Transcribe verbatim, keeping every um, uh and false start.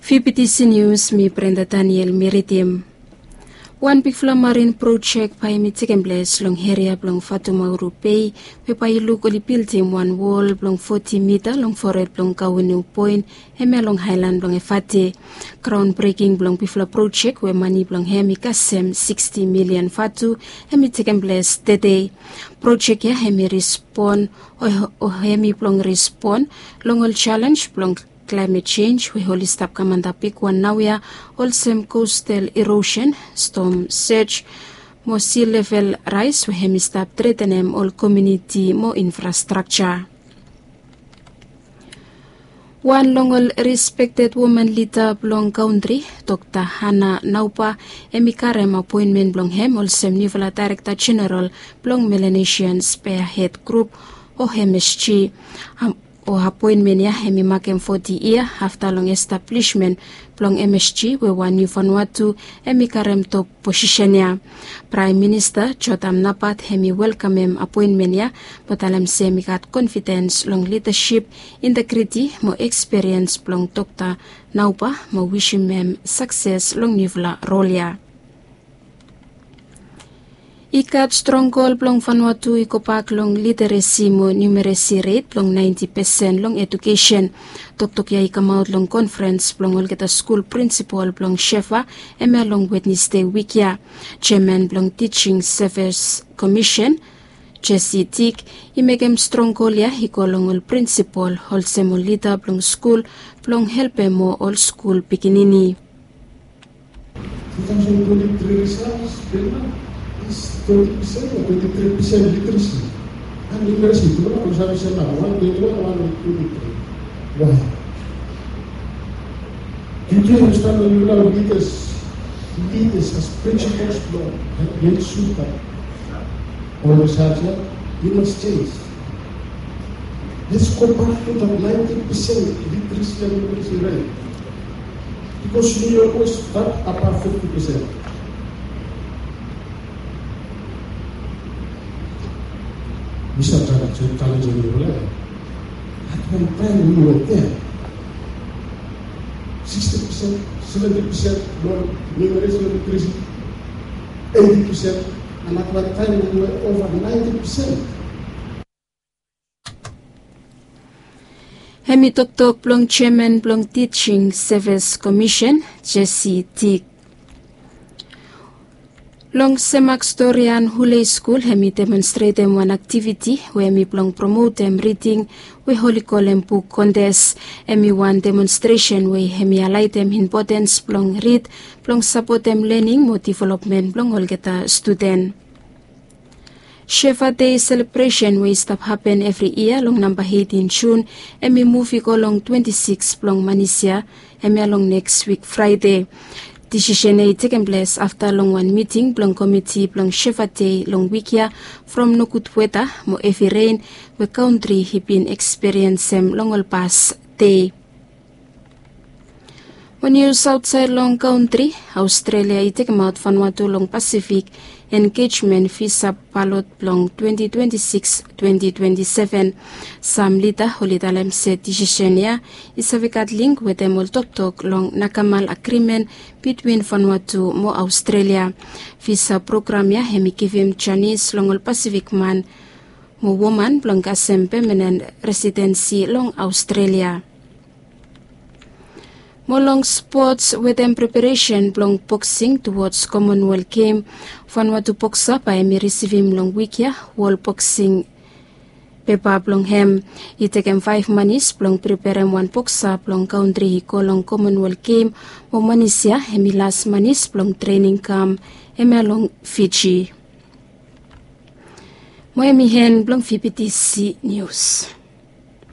P P T C News, mi Brenda Daniel mi ridim. Wan bigfala marin projek bae hemi tekem ples long eria blong Fatumauru Bay, we bae i luk oli bildim wan wol blong foti mita long fored blong Kaweneu Point, hemia long aelan blong Efate. Graon breking blong bigfala projek we mane blong hem i kasem siksti milian vatu, hemi tekem ples tede. Projek ya hemi respon, o, o hemi blong respon long ol jalenj blong klaemet jenj we oli stap kam antap bigwan naoia, olsem coastal erosion, storm surge, mo sea level rise we hemi stap tretenem ol komuniti mo infrastrakja. Wan long ol respekted woman lida blong kantri, Dokta Hana Nauba, hemi karem apoenmen blong hem olsem niufala Daerekta Jeneral blong Melanesian Spearhead Group, o M S G. Am, o apoenmen ya hemi makem foti yia afta long establishment blong M S G, we wan niu Vanuatu hemi karem top posisen ya. Praem Minista Jotham Napat hemi welkamem apoenmen ya, mo talem se hemi gat konfidens long lidasip, integriti mo ekspiriens blong Dokta Nauba, mo wisim hem sakses long niufala rol ya. I gat strong gol blong Vanuatu i gobak long literesi mo numeresi ret blong naenti pesen long edukesen. Toktok ya i kamaot long konferens blong olgeta skul prinsipol blong SHEVA, hemia long Wednesde wik ya. Jeaman blong Teaching Service Commission, Jesse Tick, i mekem strong gol ya i go long ol prinsipol olsem ol lida blong skul, blong helpem moa ol skul pikinini. Two thousand twenty-three results, Belma, is twenty percent or twenty-three percent literacy. And literacy, tu na, kau selalu, wan twenty-one, wan twenty-three. Why? Did you understand when you now leaders, leaders as principals, Lord, and then super? All of a sudden, you must change. Let's go back to that ninety percent literacy and literacy rate. Because we always got above fifty percent. We start challenging, challenging the level. At one time we were there. Sixty percent, seventy percent, numeracy literacy, eighty percent, and at one time we were over ninety percent. Hemi toktok blong jeaman blong Teaching Service Commission, Jesse Tick. Long Semak Storian Hulei Skul, hemi demonstretem wan aktiviti we hemi blong promotem riding, we oli kolem buk kontes. Hemi wan demonstresen we hemi aeaetem impotens blong rid, blong sapotem lening mo developmen blong olgeta studen. SHEVA Day selebresen we i stap hapen evri yia long namba eitin Jun, hemi muv i go long twenti sikis blong manis ya, hemia long neks wik Fraede. Disisen ya i tekem ples afta long wan miting blong komiti blong SHEVA Day long wik ya, from nogud weta mo hevi ren we kantri i bin ekspiriensem long ol pas dei. Mo nius aotsaed long kantri, Aostrelia i tekemaot Vanuatu long Pasifik engejmen visa balot blong twenti twenti sikis, twenti twenti seven. Sam lida oli talem se disisen ya i save gat link wetem ol toktok long Nakamal Agrimen bitwin Vanuatu mo Aostrelia. Visa program ya hemi givim janis long ol Pasifik man mo woman blong kasem pemanen residensi long Aostrelia. Mo long spots, wetem preparesen blong boksing towards Commonwealth Game, Vanuatu boksa bae hemi risivim long wik ya wol boksing pepa blong hem. I tekem faef manis blong preperem wan boksa blong kantri i go long Commonwealth Game, mo manis ya hemi las manis blong trening kam, hemia long Fiji. Mo hemi en blong V P T C News.